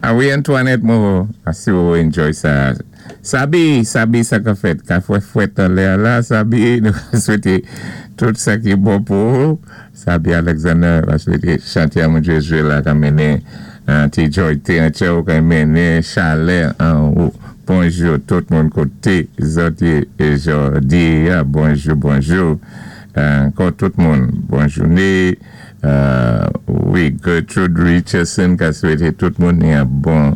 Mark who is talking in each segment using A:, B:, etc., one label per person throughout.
A: A wi, Antoinette Moreau, si ou enjoy sa. Sabi, Sabi, sa ka fèt, ka fwèt fwèt anlè la, Sabi, nou swété tout sa ki bon pou ou. Sabi Alexander, va swété chanté a moun jwé la ka mennen ti joy té an tchè ou ka mennen chalè an ou. Bonjou tout moun koté zòt yé jòdi a. Bonjou, bonjou. Ankò tout moun, bon jouné. Wi, Gertrude Richardson ka swété tout moun ni an bon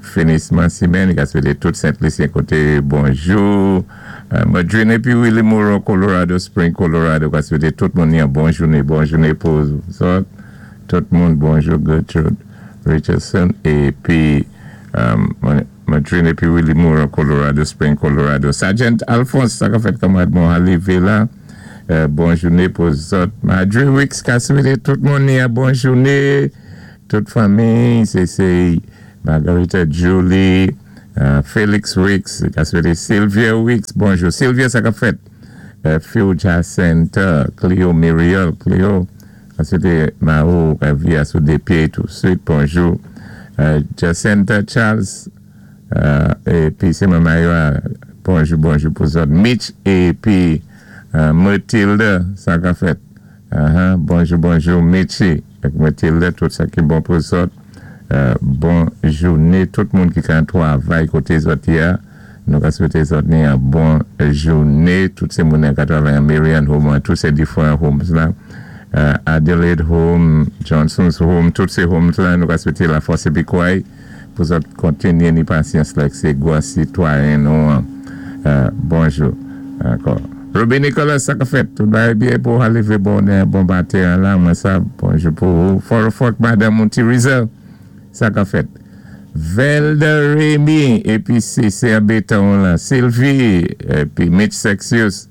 A: finisman simenn, ka swété tout Sent Lisyen koté bonjou. Madrine épi Willie Moreau, Colorado Spring, Colorado, ka swété tout moun ni an bon jouné, bon jouné pou zòt. Tout moun bonjou, Gertrude Richardson épi Madrine épi Willie Moreau, Colorado Spring, Colorado. Sergeant Alphonse, sa ka fèt, kanmarad mwen arivé la. Bon jouné pou zòt. Marjorie Wicks ka swété tout moun ni an bon jouné. Tout fanmi, sé Margarita Julie, Felix Wicks, ka swété Sylvia Wicks, bonjou. Sylvia, sa ka fèt? Phil Jacinta, Cleo Muriel, Cleo, ka swété Mao ka vi a sou dé pyé toutswit, bonjou. Jacinta Charles, épi sé Mayra, bonjou, bonjou pou zòt. Mitch épi Mathilde, sa ka fèt? Bonjou, bonjou, Mitchy ak Mathilde, tout sa ki bon pou zòt. Bon jouné, tout moun ki ka twavay koté zòt yé a, nou ka swété zòt ni an bon jouné, tout sé moun ka twavay an Marian Home, an tout sé different homes la, Adelaide Home, Johnson's Home, tout sé homes la, nou ka swété la fòs épi kouray pou zòt kontinyé ni pasyans la ak sé gwan sitwayen nou an. Bonjou ankò. Ruby Nicholas, sa ka fèt? Tout bagay byen pou arivé bonè, bon maten la, mwen sa, bonjou pou ou. Fort madanm ou Tiriza, sa ka fèt? Velda Remy, épi sé anbétan la, Sylvie, épi Mitch Sexius,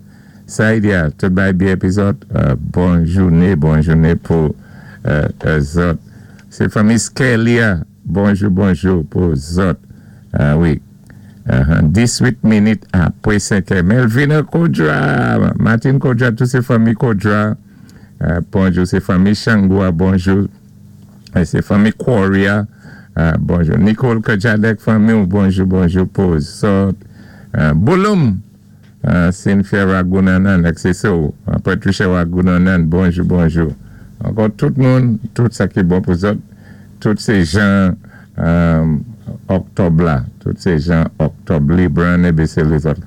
A: Saïdia, tout bagay byen épi zòt, bon jouné, bon jouné pou zòt. Sé fanmi Skelia, bonjou, bonjou pou zòt. A wi. 18 minit apwé 5 è. Melvina Kodra, Martin Kodra, tout sé fanmi Kodra. Bonjou, sé fanmi Changua, bonjou. Sé fanmi Quaria, bonjou. Nicole Kajadek, fanmi, bonjou, bonjou pou zòt. Bouloum, Cynthia Ragunanan, XSO, Patricia Ragunanan, bonjou, bonjou. Ankò tout moun, tout sa ki bon pou zòt, tout sé jan òktòb la, tout sé jan òktòb, Libran, ABC, lézòt.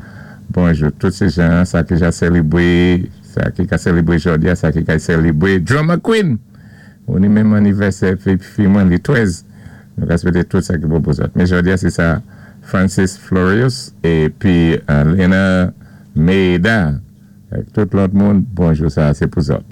A: Bonjou, tout sé jan, sa ki ja sélibwé, sa ki ka sélibwé jòdi a, sa ki ka sélibwé. Drama Queen! Ou ni menm anivèsè fi mwen li 13. Nou ka swété tout sa ki bon pou zòt. Men jòdi a sé sa Francis Florius épi Lena Meida ak tout lòt moun, bonjou sa sé pou zòt.